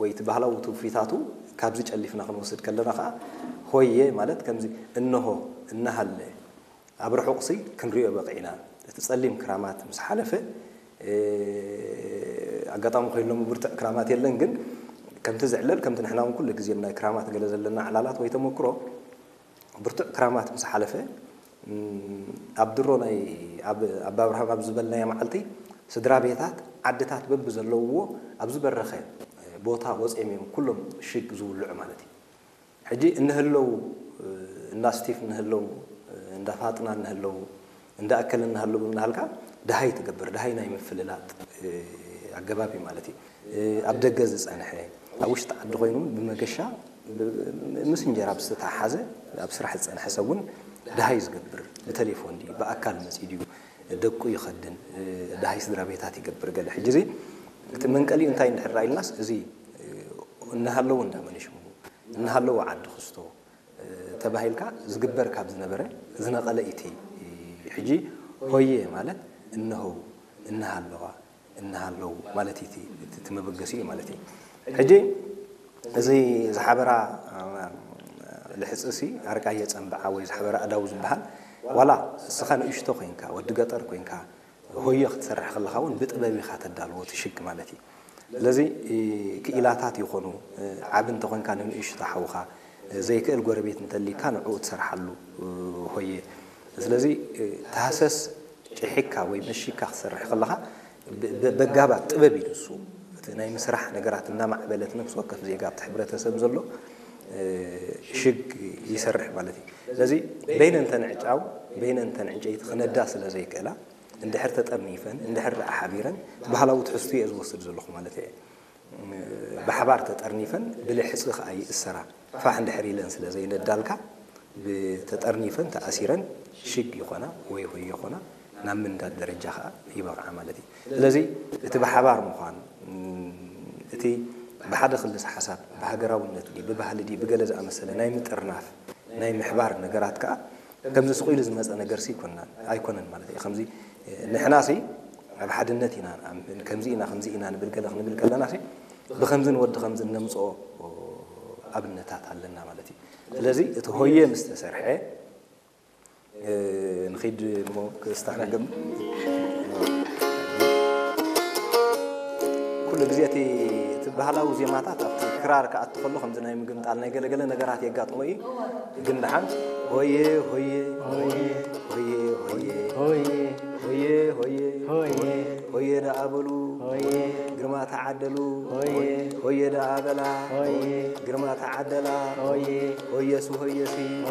ወይ እቲ ባህላዊ ትውፊታቱ ካብዚ ጨሊፍና ክንወስድ ከለና ከዓ ሆየ ማለት ከምዚ እንሆ እናሃለ ኣብ ርሑቕሲ ክንሪኦ በቒዕና። እቲ ጸሊም ክራማት ምስ ሓለፈ ኣጋጣሚ ኮይኖም ብርቱዕ ክራማት የለን፣ ግን ከምቲ ዝዕለል ከምቲ ንሕና እውን ኩሉ ግዜ ናይ ክራማት ገለ ዘለና ዕላላት ወይ ተመክሮ ብርቱዕ ክራማት ምስ ሓለፈ ኣብ ድሮ ናይ ኣብ ኣባ ኣብርሃም ኣብ ዝበልናዮ መዓልቲ ስድራ ቤታት ዓድታት በብዘለውዎ ኣብ ዝበረኸ ቦታ ወፂኦም እዮም ኩሎም ሽግ ዝውልዑ ማለት እዩ። ሕጂ እንህለው እንዳ ስቲፍ እንህለው እንዳ ፋጥና እንህለው እንዳ ኣከለ እናሃለዉ እናሃልካ ድሃይ ትገብር፣ ድሃይ ናይ ምፍልላጥ ኣገባብ እዩ ማለት እዩ። ኣብ ደገ ዝፀንሐ ኣብ ውሽጢ ዓዲ ኮይኑ እውን ብመገሻ ምስ እንጀራ ብዝተተሓሓዘ ኣብ ስራሕ ዝፀንሐ ሰብ እውን ድሃይ ዝገብር ብቴሌፎን ድዩ ብኣካል መፂኡ ድዩ ደቁ ይኸድን ድሃይ ስድራ ቤታት ይገብር ገለ። ሕጂ እዚ እቲ መንቀሊኡ እንታይ እንድሕር ኢልናስ እዚ እናሃለዉ እንዳ መን ሽሙ እናሃለዉ ዓዲ ክስቶ ተባሂልካ ዝግበር ካብ ዝነበረ ዝነቐለ እቲ ሕጂ ሆየ ማለት እነሆ እናሃለዋ እናሃለዉ ማለት እዩ እቲ መበገሲኡ ማለት እዩ። ሕጂ እዚ ዝሓበራ ልሕፅሲ ኣርቃየ ፀንብዓ ወይ ዝሓበራ ኣዳው ዝበሃል ዋላ እስኻ ንእሽቶ ኮይንካ ወዲ ገጠር ኮይንካ ሆየ ክትሰርሕ ከለኻ እውን ብጥበብ ኢኻ ተዳልዎ ትሽግ ማለት እዩ። ስለዚ ክኢላታት ይኾኑ ዓብ እንተኾንካ ንንእሽቶ ሓውኻ ዘይክእል ጎረቤት እንተሊካ ንዕኡ ትሰርሓሉ ሆየ። ስለዚ ተሃሰስ ጭሒካ ወይ መሺካ ክትሰርሕ ከለኻ በጋባት ጥበብ እዩ ንሱ። እቲ ናይ ምስራሕ ነገራት እናማዕበለት ነፍሲ ወከፍ ዜጋ ኣብቲ ሕብረተሰብ ዘሎ ሽግ ይሰርሕ ማለት እዩ። ስለዚ በይነን ተንዕጫው በይነን ተንዕጨይቲ ክነዳ ስለ ዘይክእላ እንድሕር ተጠርኒፈን እንድሕር ደኣ ሓቢረን ባህላዊ ትሕዝቱ እየ ዝወስድ ዘለኹ ማለት እየ። ብሓባር ተጠርኒፈን ብልሕፂ ከዓ ይእሰራ ፋሕ እንድሕር ኢለን ስለ ዘይነዳልካ ብተጠርኒፈን ተኣሲረን ሽግ ይኾና ወይ ሆይ ይኾና ናብ ምንዳድ ደረጃ ከዓ ይበቕዓ ማለት እዩ። ስለዚ እቲ ብሓባር ምዃን እቲ ብሓደ ክልስ ሓሳብ ብሃገራውነት ድዩ ብባህሊ ድዩ ብገለ ዝኣመሰለ ናይ ምጥርናፍ ናይ ምሕባር ነገራት ከዓ ከምዚ ስቕ ኢሉ ዝመፀ ነገርሲ ኣይኮናን ኣይኮነን ማለት እዩ። ከምዚ ንሕናሲ ኣብ ሓድነት ኢና ንኣምን ከምዚ ኢና ከምዚ ኢና ንብል ገለ ክንብል ከለናሲ ብከምዚ ንወዲ ከምዚ እነምፅኦ ኣብነታት ኣለና ማለት እዩ። ስለዚ እቲ ሆየ ምስ ተሰርሐ ንኺድ እሞ ክስታነግም ኩሉ ግዜ እቲ እቲ ባህላዊ ዜማታት ኣብቲ ክራር ክኣቱ ከሎ ከምዚ ናይ ምግምጣል ናይ ገለገለ ነገራት የጋጥሞ እዩ። ግን ደሓን ሆየ ሆየ ሆየ ሆየ ሆየ ሆየ ሆየ ሆየ ሆየ ሆየ ደኣ በሉ ሆየ ግርማ ተዓደሉ ሆየ ሆየ ደኣ በላ ሆየ ግርማ ተዓደላ ሆየ ሆየሱ ሆየሲ